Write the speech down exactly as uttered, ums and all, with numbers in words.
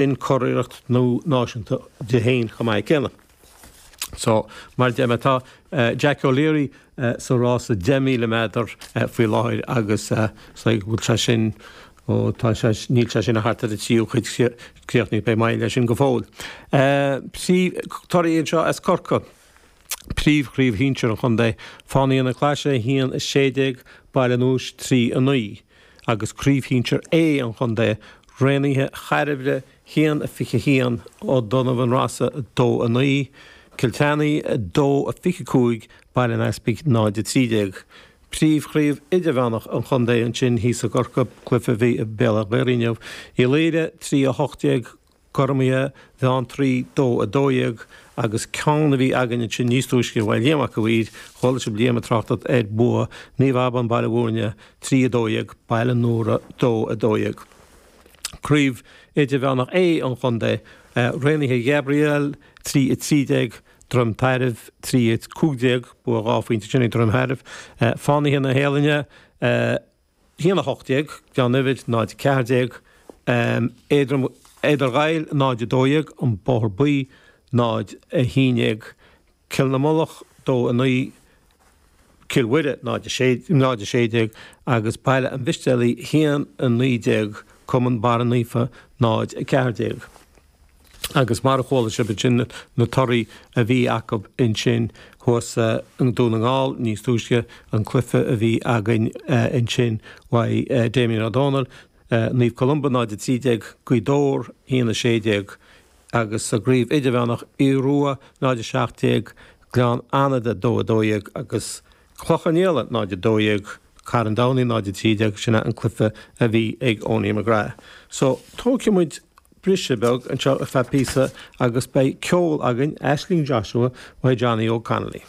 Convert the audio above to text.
Sin curiarracht nua náisiúnta di féin chomh maith céanna. So, mar a deir mé, tá Jack O'Leary sa rása deich míle méadar faoi láthair agus so go bhfuil sé sin, ó tá sé, níl sé sin ach thart ar an tríú cuid críochnaithe, beidh moill leis sin go fóill. Torthaí anseo as Corcaigh. Príomhchraobh shinsir an chontae, Fánaithe na Claise a haon a sé déag, Baile an Eois trí a naoi, agus Craobh Shinsir A an chontae, Raonaithe Chairbhre a haon a fiche a haon, O'Donovan Rossa a dó a naoi, Cill tSeanaigh a dó a fiche cúig, Baile an Easpaig náid a trí déag. Príomhchraobh Idirmheánach an chontae ansin thíos i gCorcaigh, cluiche a bhí i Béal Átha Ghaorthaidh inniu, Uí Laoire trí a hocht déag, Gormaithe Bheanntraí dó a dó dhéag agus ceann a bhí againn ansin níos túisce uaidh Liam Mac a' Mhaoir, chuala sibh Liam ag tráchtacht ar bua Naomh Abán Baile Bhúirne trí a dó dhéag, Baile an Iúir dó a dó dhéag. Craobh Idirmheánach A an chontae, Raonaithe Ghabriel trí a trí déag, Droim Tairbh trí a cúig déag, bua dhá phointe sin ag Droim Thairbh, Fánaithe na hEalainne, haon a hocht déag, Gleann Uidhir, náid a ceathair déag, Éadar Ghaill, náid a dó dhéag, An Bóthar Buí, náid a haon déag, Cill na Mullach, dó a naoi, Cill Mhuire, náid a sé, náid a sé déag, agus Baile an Mhistéalaigh, haon a naoi déag, Cumann Barra Naofa, náid a ceathair déag. Agus mar a chuala sibh ansin na torthaí a bhí acu ansin thuas i nDún na nGall níos túisce, an cluiche a bhí againn ansin uaidh Damien Ó Dónaill, Naomh Columba náid a trí déag, Gaoth Dobhair a haon a sé déag agus sa gcraobh idirmheánach Aodh Rua náid a seacht déag, Gleann Fhánada dó a dó dhéag agus Cloich Cheann Fhaola náid a dó dhéag, Carn Domhnach náid a trí déag, sin é an cluiche a bhí ag Owenie McGrath. So tógfaidh muid briseadh beag anseo ar feadh píosa agus beidh ceol againn, Aisling Joshua uaidh Johnny Óg Connolly.